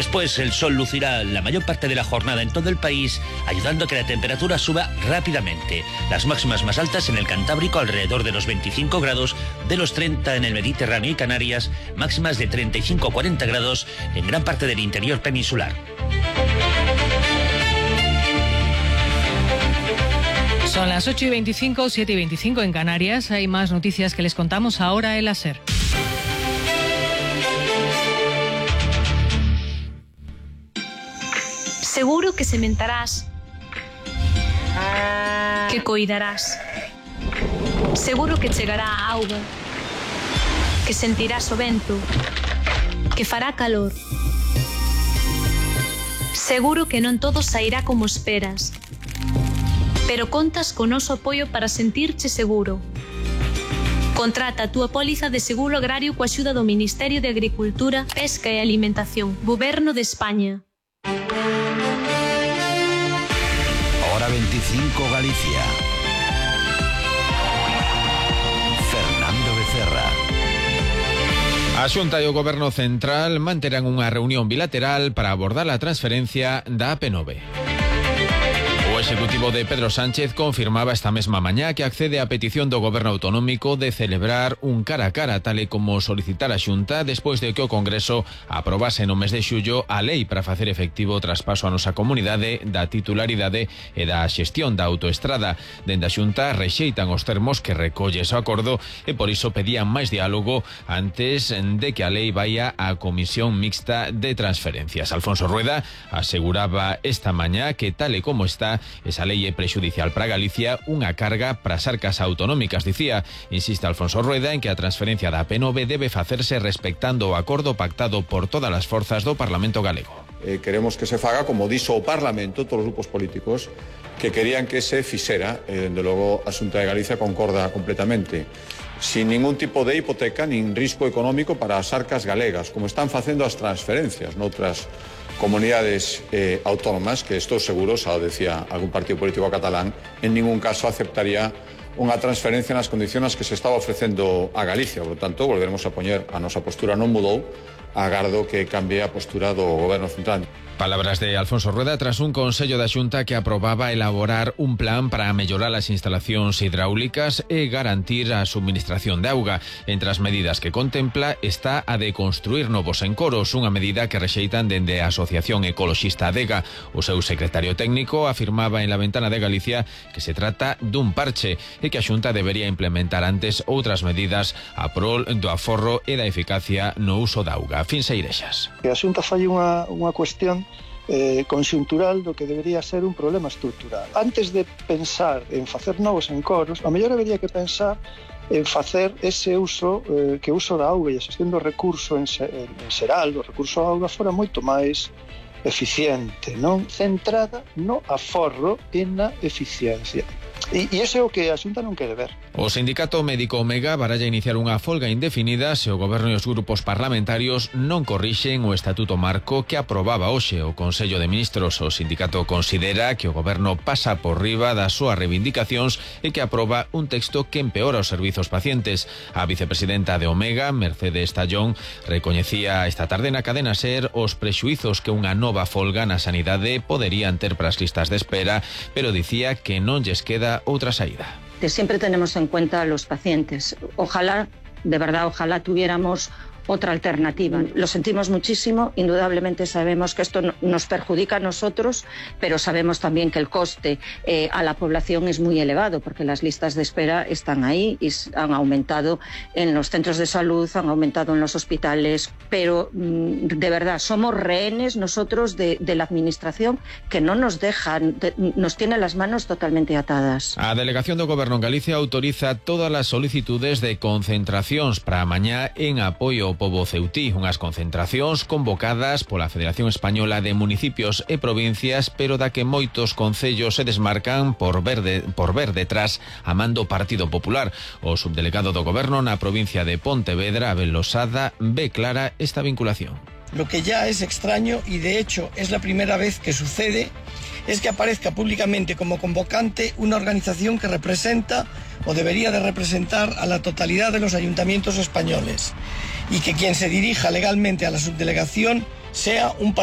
Después el sol lucirá la mayor parte de la jornada en todo el país, ayudando a que la temperatura suba rápidamente. Las máximas más altas en el Cantábrico alrededor de los 25 grados, de los 30 en el Mediterráneo y Canarias, máximas de 35 a 40 grados en gran parte del interior peninsular. Son las 8:25, 7:25 en Canarias. Hay más noticias que les contamos ahora en la SER. Seguro que sementarás, que coidarás. Seguro que chegará a auga, que sentirás o vento, que fará calor. Seguro que non todo sairá como esperas, pero contas co noso apoio para sentirche seguro. Contrata a túa póliza de seguro agrario coa axuda do Ministerio de Agricultura, Pesca e Alimentación, Goberno de España. Hora 25 Galicia. Fernando Becerra. A Xunta e o Goberno Central manterán unha reunión bilateral para abordar a transferencia da AP9. O Executivo de Pedro Sánchez confirmaba esta mesma mañá que accede á petición do Goberno Autonómico de celebrar un cara a cara, tal e como solicitar a Xunta despois de que o Congreso aprobase no mes de xullo a lei para facer efectivo o traspaso a nosa comunidade da titularidade e da xestión da autoestrada. Dende a Xunta rexeitan os termos que recolle ese acordo e por iso pedían máis diálogo antes de que a lei vaya á Comisión Mixta de Transferencias. Alfonso Rueda aseguraba esta mañá que tal e como está, esa lei é prexudicial para Galicia, unha carga para as arcas autonómicas, dicía. Insiste Alfonso Rueda en que a transferencia da AP9 debe facerse respectando o acordo pactado por todas as forzas do Parlamento galego. Queremos que se faga como dixo o Parlamento, todos os grupos políticos que querían que se fixera, dende logo a Xunta de Galicia concorda completamente, sin ningún tipo de hipoteca nin risco económico para as arcas galegas, como están facendo as transferencias noutras comunidades autónomas, que estou seguro, xa o decía algún partido político catalán, en ningún caso aceptaría unha transferencia nas condicións que se estaba ofrecendo a Galicia. Por lo tanto, volveremos a poñer a nosa postura non mudou, agardo que cambie a postura do Goberno Central. Palabras de Alfonso Rueda tras un consello da Xunta que aprobaba elaborar un plan para mellorar as instalacións hidráulicas e garantir a subministración de auga. Entre as medidas que contempla está a de construir novos encoros, unha medida que rexeitan dende a Asociación Ecoloxista Adega. O seu secretario técnico afirmaba en La Ventana de Galicia que se trata dun parche e que a Xunta debería implementar antes outras medidas a prol do aforro e da eficacia no uso da auga. Fins Eirexas. Que a Xunta fai unha cuestión conxuntural do que debería ser un problema estrutural. Antes de pensar en facer novos encoros, a mellor debería que pensar en facer ese uso, que o uso da auga e a xestión do recurso en xeral, do recurso da auga, fora moito máis eficiente, non? Centrada no aforro e na eficiencia. E iso é o que a Xunta non quere ver. O sindicato médico Omega baralla iniciar unha folga indefinida se o Goberno e os grupos parlamentarios non corrixen o Estatuto Marco que aprobaba hoxe o Consello de Ministros. O sindicato considera que o Goberno pasa por riba das súas reivindicacións e que aproba un texto que empeora os servizos pacientes. A vicepresidenta de Omega, Mercedes Tallón, recoñecía esta tarde na cadena SER os prexuizos que unha nova folga na sanidade poderían ter para as listas de espera, pero dicía que non lles queda outra saída. Siempre tenemos en cuenta a los pacientes. Ojalá, de verdad, ojalá tuviéramos otra alternativa. Lo sentimos muchísimo, indudablemente sabemos que esto nos perjudica a nosotros, pero sabemos también que el coste a la población es muy elevado, porque las listas de espera están ahí y han aumentado en los centros de salud, han aumentado en los hospitales, pero de verdad somos rehenes nosotros de la administración que no nos dejan, nos tiene las manos totalmente atadas. A Delegación do Goberno en Galicia autoriza todas as solicitudes de concentracións para mañá en apoio ao pobo ceutí, unhas concentracións convocadas pola Federación Española de Municipios e Provincias, pero da que moitos concellos se desmarcan por ver detrás a mando Partido Popular. O subdelegado do Goberno na provincia de Pontevedra, Abel Losada, ve clara esta vinculación. Lo que ya es extraño, y de hecho es la primera vez que sucede, es que aparezca públicamente como convocante una organización que representa o debería de representar a la totalidad de los ayuntamientos españoles y que quien se dirija legalmente a la subdelegación sea un partido